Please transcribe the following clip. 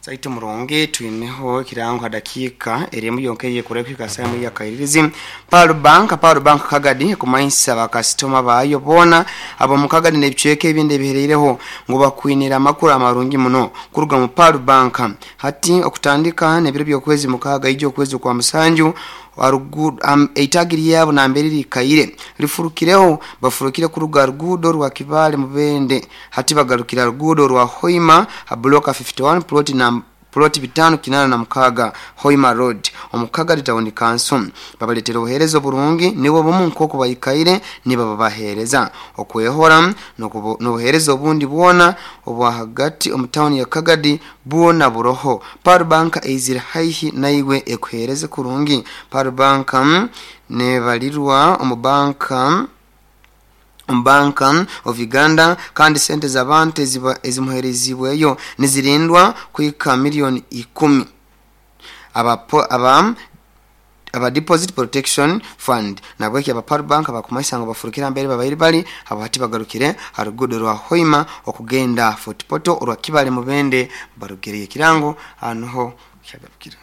Zaitu murungi twineho ekirango ha dakiika eri emu yonka eyekura kuhika saaha emwe ey'akairirizi. Pearl Bank, Pearl Bank Kagadi ekumanyisa bakasitoma baayo boona ab'omu Kagadi n'ebicweka ebindi ebihereireho ngu bakwinire amakuru amarungi muno kuruga omu Pearl Bank. Hati okutandika n'ebiro by'okwezi mukaaga ija okwezi okwa musanju, Eitagi lyabo nambere riikaire rifurukireho, bafurukire kuruga ha ruguudo rwa Kibaale Mubende hati bagarukire ha ruguudo rwa Hoima ha bulooka 51 puloti na puloti bitaanu kinaana na mukaaga Hoima Road omu Kagadi Tawuni Kanso. Babaletera obuheereza oburungi nibwo bumu nk'oku baikaire nibababaheereza. Okwehora n'obuheereza obundi bwona obwa hagati omu tawuni ya Kagadi Bwona buroho. Pearl Bank eizire haihi naiwe ekuheereze kurungi. Pearl Bank nebarirwa omu banka omu Bank of Uganda kandi sente z'abantu ezimuheereziibweyo nizirindwa kuhika milioni ikumi. Aba aba Aba Deposit Protection Fund nabweki aba Pearl Bank bakumanyisa ngu bafurukire ambere babaire bari abo hati bagarukire ha ruguudo rwa Hoima okugenda Fort Portal orwa Kibale Mubende barugireyo ekirango aha niho kyagarukire.